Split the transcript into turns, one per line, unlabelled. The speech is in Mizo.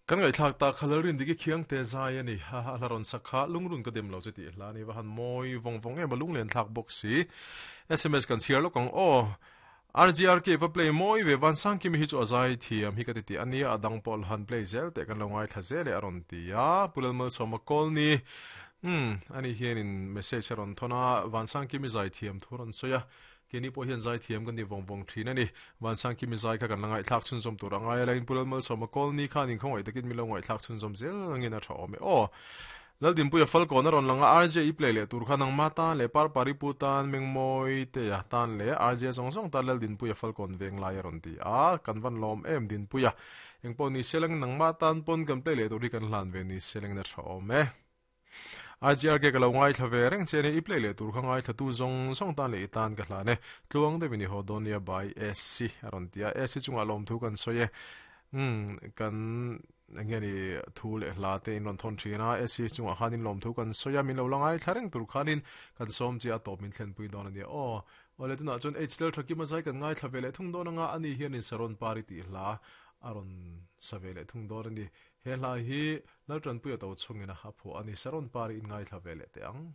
Kan ngaihthlak tak kha Lalrindiki Khiangte zai a ni. A hla rawn sak kha lungrun ka dem lo che tih hla a ni. Va han mawi vawng vawng em a lunglen thlak bawk si. Sms kan chhiar lawk ang aw. RGRK va play mawi ve Vansangkimi hi chu a zai thiam hi ka ti tih a nia a dang pawh la han play zel teh kan lo ngaithla zel e a rawn ti a. Pu Lalmalsawma Kawlni umm ani hianin message a rawn thawn a Vansangkimi zai thiam thu a rawn sawi a. Keini pawh hian zaithiam kan ni vawng vawng thin a ni. Vansangkimi zai kha kan la ngaihthlak chhunzawm tur a ngai a, Lain Pu Lalmalsawma Kawlni khan inkhawngaih takin min lo ngaihthlak chhunzawm zel angin a tha awm e aw. Laldinpuia Falkawn a rawn lang a, RJ i play leh tur kha nangma tan leh Parpari pu tan, Mengmawi Teia tan leh RJ zawng zawng tan Laldinpuia Falkawn veng lai a rawn ti a, kan van lawm em Dinpuia. Engpawh ni se lang nangma tan pawn kan play leh tur hi kan hlan ve ni se langin a tha awm e. IGRK ka lo ngaithla ve reng che a ni, i play leh tur kha ngaithla tu zawng zawng tan leh i tan ka hlan e, tluang deuhin i haw dawn nia by SC a rawn ti a, SC chungah lawmthu kan sawi e, umm kan eng nge ni thu leh hla te in rawn thawn thin a, SC chungah khanin lawmthu kan sawi a, min lo la ngaithla reng tur khanin kan sawm che a tawp min thlenpui dawn a nia aw. Awle tunah chuan HL Thakima zai kan ngaithla ve leh thung dawn anga ani hianin Saron Pari tih hla a rawn sa ve leh thung dawn a ni. He hla hi Laltanpuia to chungin a phuah a ni. Saron Pari in ngaithla ve leh teh ang.